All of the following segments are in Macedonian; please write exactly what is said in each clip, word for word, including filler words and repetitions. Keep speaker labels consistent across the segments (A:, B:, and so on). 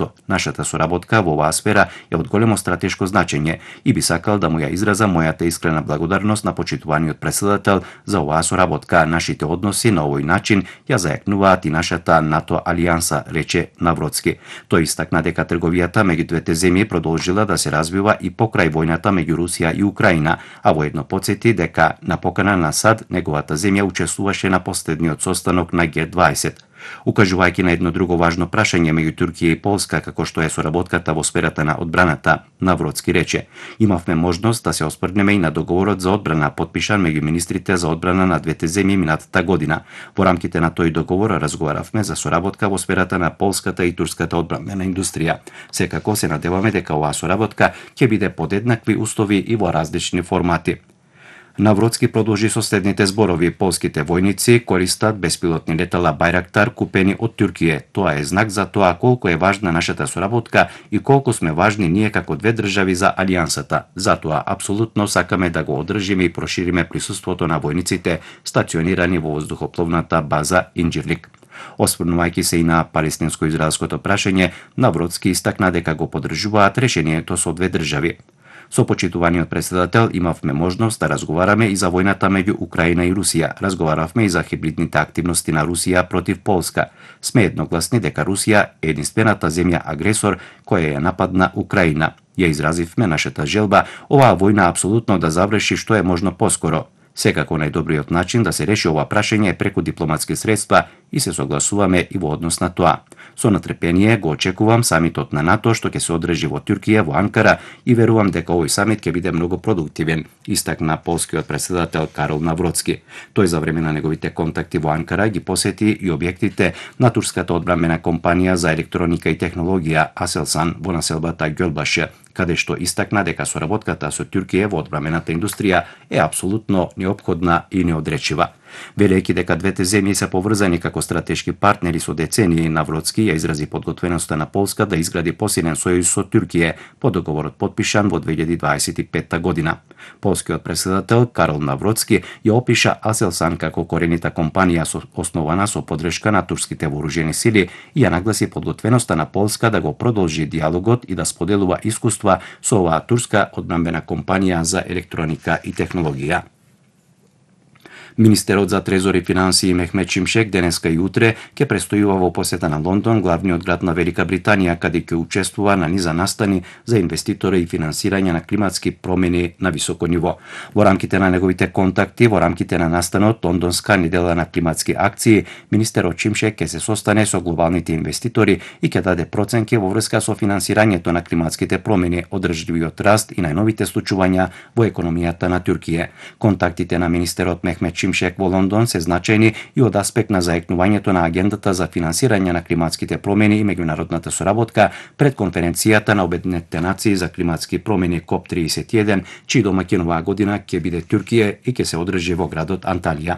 A: НАТО. Нашата соработка во оваа сфера е од големо стратешко значење и би сакал да му ја изразам мојата искрена благодарност на почитуваниот претседател за оваа соработка. Нашите односи на овој начин ја зајакнуваат и нашата НАТО алијанса, рече Навроцки. Тој истакна дека трговијата меѓу двете земји продолжила да се развива и покрај војната меѓу Русија и Украина, а воедно потсети дека на покана на САД неговата земја учествуваше на последниот состанок на Г дваесет. Укажувајќи на едно друго важно прашање меѓу Туркија и Полска, како што е соработката во сферата на одбраната, Навроцки рече: "Имавме можност да се оспрнеме и на договорот за одбрана потпишан меѓу министрите за одбрана на двете земји минатата година. Во рамките на тој договор разговаравме за соработка во сферата на полската и турската одбранбена индустрија. Секако се надеваме дека оваа соработка ќе биде под еднакви услови и во различни формати." Навроцки продолжи со следните зборови: "Полските војници користат беспилотни летала Байрактар купени од Туркија. Тоа е знак за тоа колку е важна нашата соработка и колку сме важни ние како две држави за алијансата. Затоа апсолутно сакаме да го одржиме и прошириме присуството на војниците стационирани во воздухопловната база Инџирлик." Осврнувајќи се и на палестинско-израелското прашање, Навроцки истакна дека го поддржуваат решението со две држави. Со почитуваниот претседател имавме можност да разговараме и за војната меѓу Украина и Русија. Разговаравме и за хибридните активности на Русија против Полска. Сме едногласни дека Русија е единствената земја агресор која ја нападна Украина. Ја изразивме нашата желба оваа војна апсолутно да заврши што е можно поскоро. Секако најдобриот начин да се реши ова прашање е преку дипломатски средства и се согласуваме и во однос на тоа. Со натрпение го очекувам самитот на НАТО што ќе се одржи во Туркија, во Анкара, и верувам дека овој самит ќе биде многу продуктивен, истакна полскиот претседател Карол Навроцки. Тој за време на неговите контакти во Анкара ги посети и објектите на турската одбранбена компанија за електроника и технологија Aselsan во населбата Ѓолбаше, каде што истакна дека соработката со Туркија во одбранбената индустрија е апсолутно неопходна и неодречива. Велејќи дека двете земји се поврзани како стратешки партнери со децении, Навроцки ја изрази подготвеноста на Полска да изгради посилен сојуз со Туркија по договорот потпишан во две илјади дваесет и петта година. Полскиот претседател Карол Навроцки ја опиша Aselsan како коренита компанија со основана со поддршка на турските вооружени сили и ја нагласи подготвеноста на Полска да го продолжи диалогот и да споделува искуства со оваа турска одбранбена компанија за електроника и технологија. Министерот за трезор и финансии Мехмет Шимшек денеска и утре ќе престојува во посета на Лондон, главниот град на Велика Британија, каде ќе учествува на низа настани за инвеститори и финансирање на климатски промени на високо ниво. Во рамките на неговите контакти, во рамките на настанот Лондонска недела на климатски акции, министерот Шимшек ќе се состане со глобалните инвеститори и ќе даде проценки во врска со финансирањето на климатските промени, одржливиот раст и најновите случувања во економијата на Туркија. Контактите на министерот Мехмет Шимшек во Лондон се значајни и од аспект на зајакнувањето на агендата за финансирање на климатските промени и меѓународната соработка пред конференцијата на Обединетите нации за климатски промени КОП триесет и еден, чиј домаќин оваа година ќе биде Туркија и ќе се одржи во градот Анталија.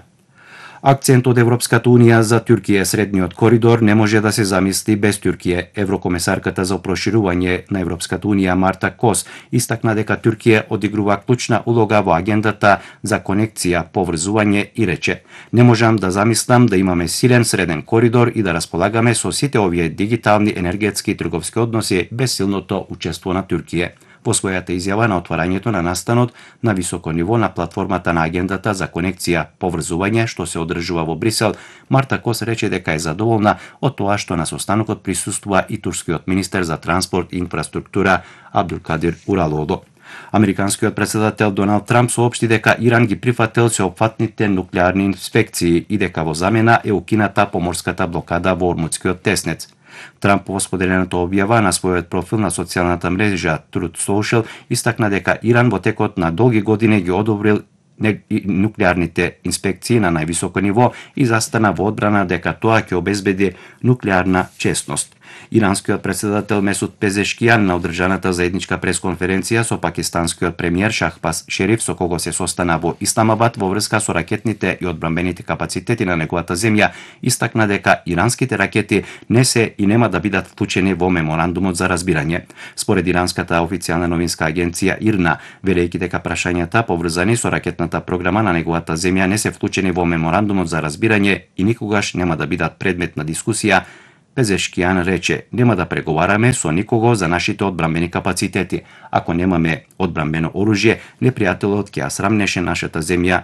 A: Акцент од Европската Унија за Туркија средниот коридор не може да се замисли без Туркија. Еврокомесарката за проширување на Европската Унија Марта Кос истакна дека Туркија одигрува клучна улога во агендата за конекција, поврзување и рече: "Не можам да замислам да имаме силен среден коридор и да располагаме со сите овие дигитални, енергетски и трговски односи без силното учество на Туркија." Во својата изјава на отварањето на настанот на високо ниво на платформата на агендата за конекција, поврзување, што се одржува во Брисел, Марта Кос рече дека е задоволна од тоа што на состанокот присуствува и турскиот министер за транспорт и инфраструктура Абдулкадир Уралоглу. Американскиот претседател Доналд Трамп соопшти дека Иран ги прифатил сеопфатните нуклеарни инспекции и дека во замена е укината поморската блокада во Ормутскиот теснец. Трамп во споделената објава на својот профил на социјалната мрежа Truth Social истакна дека Иран во текот на долги години ги одобрил нуклеарните инспекции на највисоко ниво и застана во одбрана дека тоа ќе обезбеди нуклеарна честност. Иранскиот претседател Месуд Пезешкијан на одржаната заедничка пресконференција со пакистанскиот премиер Шахбаз Шериф, со кого се состана во Исламабад во врска со ракетните и одбранбените капацитети на неговата земја, истакна дека иранските ракети не се и нема да бидат вклучени во меморандумот за разбирање. Според иранската официјална новинска агенција ИРНА, велејќи дека прашањата поврзани со ракетната програма на неговата земја не се вклучени во меморандумот за разбирање и никогаш нема да бидат предмет на дискусија, Пезешкијан рече: "Нема да преговараме со никого за нашите одбранбени капацитети. Ако немаме одбранбено оружје, непријателот ќе ја срамнеше нашата земја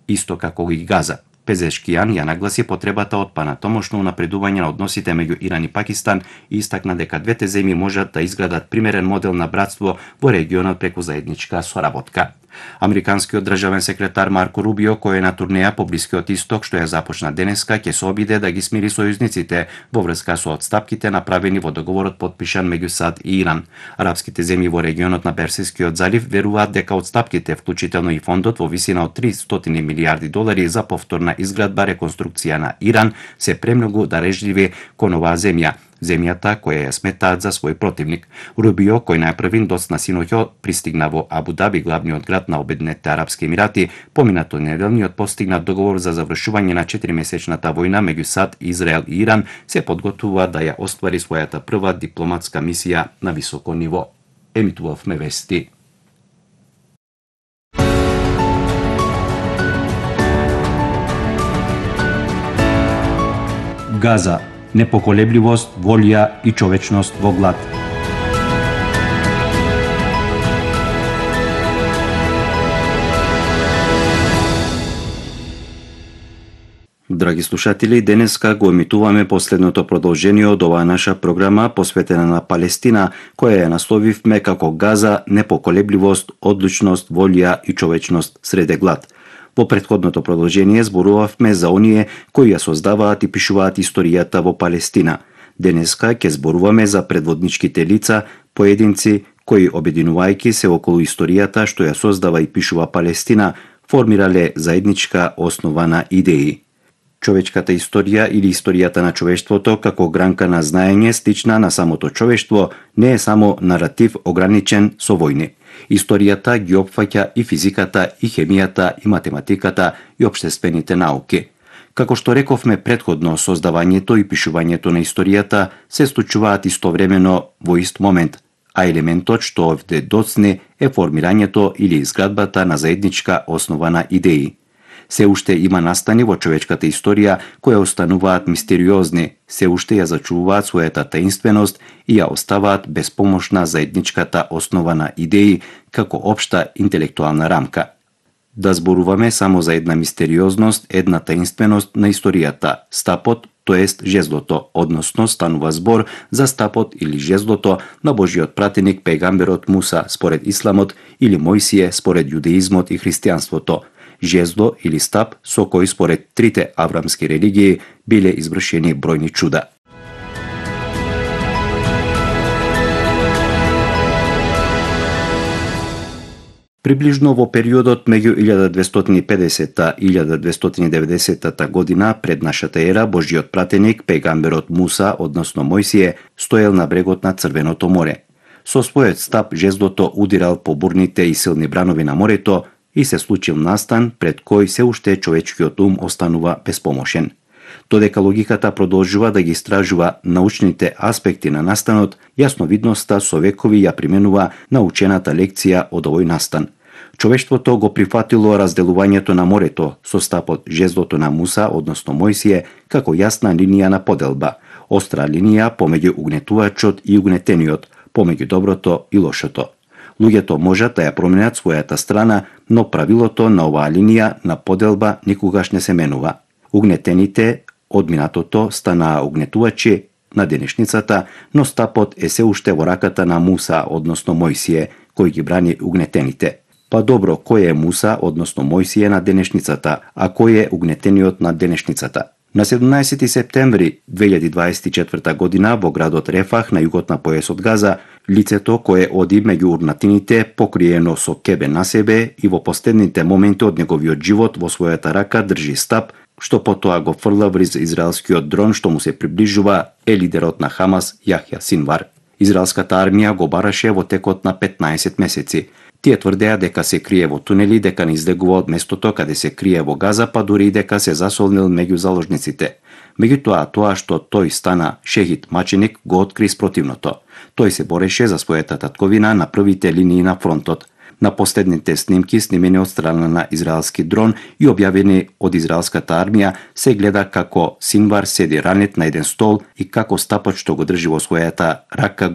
A: исто како и Газа." Пезешкијан ја нагласи потребата од панатомошно унапредување на односите меѓу Иран и Пакистан и истакна дека двете земји можат да изградат примерен модел на братство во регионот преку заедничка соработка. Американскиот државен секретар Марко Рубио, кој е на турнеја по Блискиот Исток што ја започна денеска, ќе се обиде да ги смири сојузниците во врска со одстапките направени во договорот потпишан меѓу САД и Иран. Арапските земји во регионот на Персискиот залив веруваат дека одстапките, вклучително и фондот во висина од триста милијарди долари за повторна изградба реконструкција на Иран, се премногу дарежливи кон оваа земја, земјата која ја сметаат за свој противник. Рубио, кој најпрвин доцна синоќа пристигна во Абу Даби, главниот град на Обединетите арапски емирати, поминато неделниот постигнат договор за завршување на четиримесечната војна меѓу САД, Израел и Иран, се подготвува да ја оствари својата прва дипломатска мисија на високо ниво. Емитувавме вести. Газа. Непоколебливост, волја и човечност во глад. Драги слушатели, денеска го емитуваме последното продолжение од оваа наша програма посветена на Палестина, која ја насловивме како Газа, непоколебливост, одлучност, волја и човечност среде глад. Во претходното продолжение зборувавме за оние кои ја создаваат и пишуваат историјата во Палестина. Денеска ќе зборуваме за предводничките лица, поединци кои, обединувајќи се околу историјата што ја создава и пишува Палестина, формирале заедничка основа на идеи. Човечката историја или историјата на човештвото како гранка на знаење стична на самото човештво не е само наратив ограничен со војни. Историјата ги опфаќа и физиката, и хемијата, и математиката, и општествените науки. Како што рековме предходно, создавањето и пишувањето на историјата се случуваат истовремено во ист момент, а елементот што овде доцне е формирањето или изградбата на заедничка основа на идеи. Се уште има настани во човечката историја кои остануваат мистериозни, се уште ја зачувуваат својата таинственост и ја оставаат безпомошна заедничката основа на идеи како општа интелектуална рамка. Да зборуваме само за една мистериозност, една таинственост на историјата, стапот, тоест жезлото, односно станува збор за стапот или жезлото на Божиот пратеник пегамберот Муса според исламот или Мојсие според јудеизмот и христијанството. Жезло или стап со кој според трите аврамски религии биле извршени бројни чуда. Приближно во периодот меѓу илјада двестоти и педесета и илјада двестоти и деветдесета година пред нашата ера, Божиот пратеник, пегамберот Муса, односно Мојсие, стоел на брегот на Црвеното море. Со својот стап жезлото удирал по бурните и силни бранови на морето и се случил настан пред кој се уште човечкиот ум останува безпомошен. Додека логиката продолжува да ги истражува научните аспекти на настанот, јасновидноста со векови ја применува научената лекција од овој настан. Човештвото го прифатило разделувањето на морето со стапот жезлото на Муса, односно Мојсие, како јасна линија на поделба, остра линија помеѓу угнетувачот и угнетениот, помеѓу доброто и лошото. Луѓето можат да ја променат својата страна, но правилото на оваа линија на поделба никогаш не се менува. Угнетените од минатото станаа угнетувачи на денешницата, но стапот е се уште во раката на Муса, односно Мојсие, кој ги брани угнетените. Па добро, кој е Муса, односно Мојсие на денешницата, а кој е угнетениот на денешницата? На седумнаесети септември две илјади дваесет и четврта година во градот Рефах на југот на појасот Газа, лицето кое оди меѓу урнатините покриено со кебе на себе и во последните моменти од неговиот живот во својата рака држи стап, што потоа го фрла вриз израелскиот дрон што му се приближува, е лидерот на Хамас Јахја Синвар. Израелската армија го бараше во текот на петнаесет месеци. Тие тврдеа дека се крие во тунели, дека не излегува од местото каде се крие во Газа, па дури и дека се засолнил меѓу заложниците. Меѓутоа, тоа што тој стана шехид маченик го откри спротивното. Тој се бореше за својата татковина на првите линии на фронтот. На последните снимки, снимени од страна на израелски дрон и објавени од израелската армија, се гледа како Синвар седи ранет на еден стол и како стапот што го држи во својата рака